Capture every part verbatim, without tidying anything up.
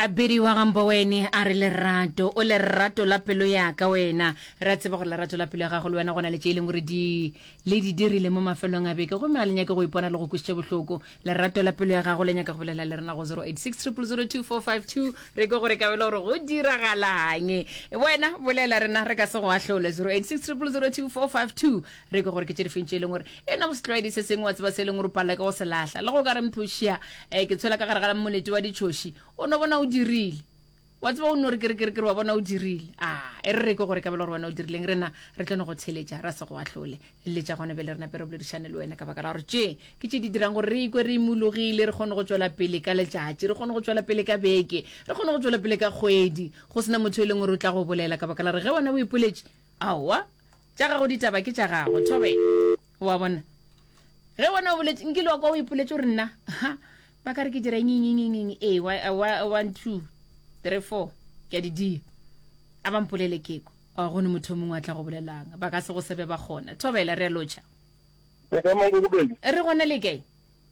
A bidiwa ga Mboweni a re lerato o lerato la pelo ya ka wena. Re a tseba gore lerato la pelo ya gago le wena go na le tše e leng gore di le di dirile mo mafelong a beke gomme ga le nyake go ipona le go kwešitše bohloko. Lerato la pelo ya gago le nyaka go bolela le rena go zero eight six triple zero two four five two re kwe gore ka bela gore go diragalang. Wena bolela rena re ka se go ahlole zero eight six triple zero two four five two re kwe gore ke tše difeng tše e leng gore e na go setlwaedi se sengwe wa tseba se e leng gore o palela ke go se lahla le go ka re mphošia um ke tshwela ka gare ga molete wa ditšhoši o no bona o dirile wa tseba o no re kere kere kere wa bona o dirile a e re re ke gore ka bela gore wena o dirileng rena re tlo no go theletša ra se go ahlole letša gona bjale re nape re boledišane le wena ka baka la gore tše ke tše di dirang gore re ikwe re imologile re kgone go tšwela pele ka letšatši re kgone go tšwela pele ka beke re kgone go tšwela pele ka kgwedi go sena motho e leng gore o tla go bolela ka baka la gore ge wena o ipoletše aowa tša gago ditaba ke tša gago thobe wa bona ge wena o boletše nkile wa kwa o ipoletše gore nna ha ba ka re ke dira eng eng eng eng ee one two three four ke a di dia a ba mpolele keko a gone motho o mongwe a tla go bolelang ba ka se go sebe ba kgona thobela re a lotšha re gona le kae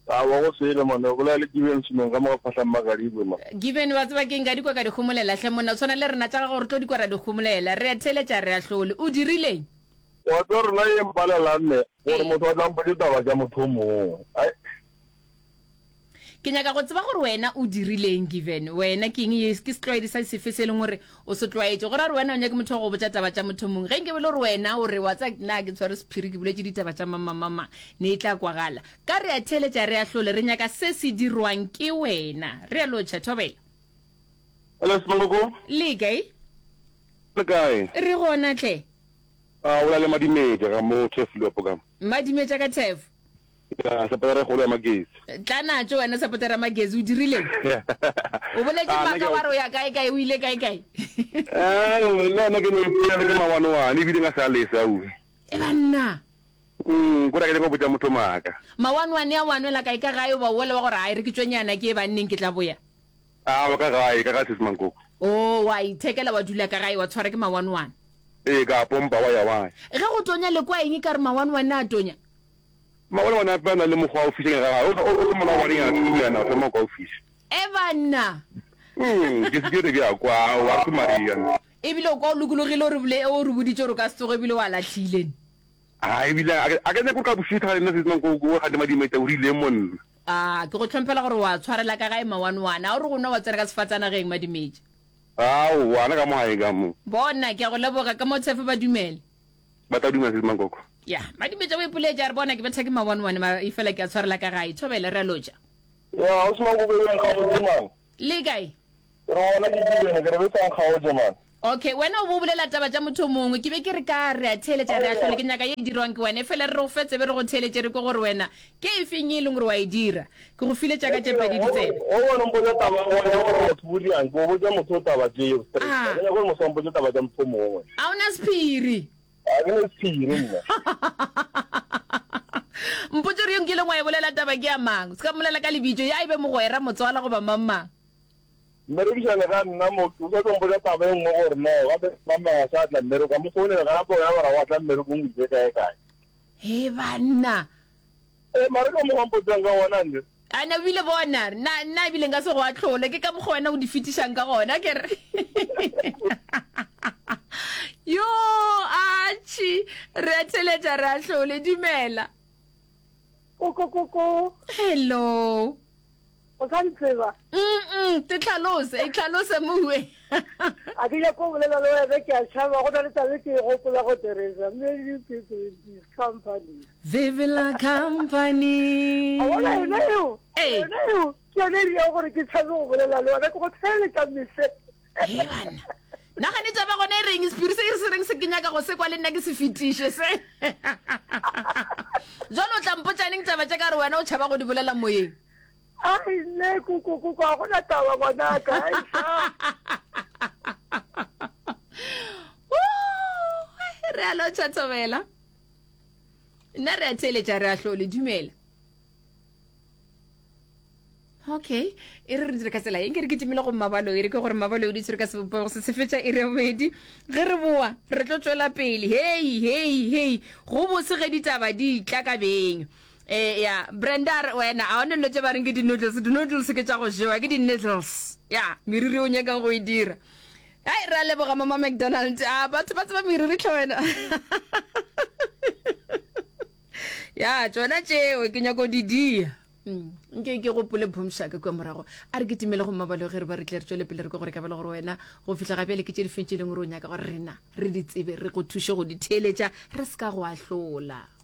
a wa go sele mone o bolela le Given Semeng ka mo ga Phatlhang Magadibwe ma Given wa tseba ke nka di kwa ka di homolela hle monna o tshwana le rena tša gago re tlo di kwa ra di homolela re a theletša re a hlole o dirileng wa tseba rena ye mpalelang ne gore motho a tla mpotse taba tša motho o mongwe ai Ke nyaka go tseba gore wena o dirileng Given. Wena ke eng ye ke setlwaedi sa sefe se e leng gore o se tlwaetše? Go ra gore wena o nyake motho wa go botša taba tša motho mongwe. Ge nke be le gore wena o re wa tseba nna ke tshwere sephiri ke boletše ditaba tša mang mang mang mang ne e tla kwagala. Ka re a theeletša re a hlole re nyaka se se dirwang ke wena. Re a lotšha Thobela. Hello Semangoko. Le kae? Le kae? Re gona hle. A o la le Madimetša ka mo Turfloop ka. Madimetša ka Turf. Ya, sapotara e kgolo ya Magezi. Tla natšo wena sapotara ya Magezi, o dirileng? O boletše Ah, nna maaka ke wa re o ya kae kae, o ile kae kae? Eh, nna nna ke no ipolele ke mawane-wane ebile nka se a lese auwe. E banna. Mm, kore a ke nyaka go botša motho maaka. Mawane-wane a o a nwela kae ka gae o ba ola wa gore ai re ke tšwe nyana ke ye banneng ke tla boya? Aowa ka gae, ka gae Sesi Mankoko. Oh, wa ithekela wa dula ka gae wa tshwara ke mawane-wane. Ee, ka pompa wa ya wa ya. Ge go tonya le kwa eng e ka re mawane-wane a tonya? Mabone one ape a na le mokgwa wa go fiša nyaka gae. O o mola wa reng a thulana o thoma kwa o fiša. E banna. Mm, ke se ke re bja kwa wa ke Maria. Ebile o kwa o lokologile o re bole o re boditše gore o ka se tsoge ebile wa lahlile. A ebile a ke a ke nyake gore ka bošego ga nna se mang ko ko ga madimo o rile monna. A ke go hlomphela gore wa tshwarela ka gae mawane-wane. A o re go nwa wa tsena ka sefatsanageng Madimetša. Ao, wana ka mo gae ka mo. Bona, ke a go leboga ka mo tshefe ba dumele. Ba tla dumela Sesi Mankoko. Ya, Madimetša o ipoletše a re bona ke betha ke mawane-wane mara efela ke a tshwarela ka gae. Thobela, re a lotša. Ya, Ausi Mankoko e nkgaotše man. Le kae? Ke re gona ke Given, ke re be sa nkgaotše man. Okay, wena o bo o bolela taba tša motho o mongwe. Ke be ke re ka re a theeletša re a hlole ke nyaka ye e dirwang ke wena efela re re go fe tsebe re go theeletše re kwe gore wena ke efeng ye e leng gore wa e dira. Ke go file tša ka tše pedi ditsebe. O bona o mpotša taba ya gore motho o dirang, ke o botša motho o taba tšeo straight. Ah. Ga ke nyake gore motho a mpotše taba tša motho o mongwe. A o na sephiri? Ga ke na sephiri nna. Mpotše gore yo nkileng wa e bolela taba ke ya mang. Se ka mmolela ka lebitso, ya e be mogwera, motswala goba mang mang. Mmerekišane ga nna mo, o sa tlo mpotša taba e nngwe gore no gape mama ga sa tla mmereko, a mo founela gape o ya gore wa tla mmerekong o ile kae kae. He banna. E mare ka mokgwa mpotsang ka gona nne. A na bile bona nna nna ebile nka se go ahlole ke ka mokgwa wena o di fetišang ka gona ke re. Yo atšhi re a theletša re ahlole dumela. Koko koko. Hello. O sa ntseba? Mm te tlhalose, e tlhalose mowe. A ke nyako go bolela le wena ke a tšhaba go na le taba e ke e gopola go Teresa many people in this company. Vivela company. A bona yona eo? Ee. Yona eo ke yone e dirang gore ke tshabe go bolela le wena ke go theeletša mehle. He banna. Nagane taba gona e reng sephiri se se reng se ke nyaka go se kwa le nna ke se fetiše se. Jwale o tla mpotša neng taba tše ka gore wena o tšhaba go di bolela moyeng. Ai nne koko koko ga gona taba ngwanaka ai sa. Re a lotšha Thobela. Nna re a theeletša re a hlole dumela. Okay, e re re dire ka tsela ye nke re kitimile go Mmabaloi re ke gore Mmabaloi o di tshwere ka sebopego se se fetša iri ya bobedi ge re boa re tlo tšwela pele hei hei hei go bose ge ditaba di tla ka beng Eh, ya, Brenda a re, wena, a o ne dilo tše ba reng ke di-noodles, di-noodles ke tša go jewa, ke di-needles. Ya, meriri o nyakang go e dira. Ai, re a leboga Mama McDonald. A batho ba tseba meriri tlhe wena. Ya, tšona tšeo ke nyako di dia. Mm, nke ke gopole phomšaka kua morago. A re kitimele go mmabalo ge re ba re tle re tšwele pele re kwe gore ka bela gore wena go fihla ga bjale ke tše di feng tše e leng gore o nyaka gore rena re di tsebe, re go thuše go di theeletša, re se ka go ahlola.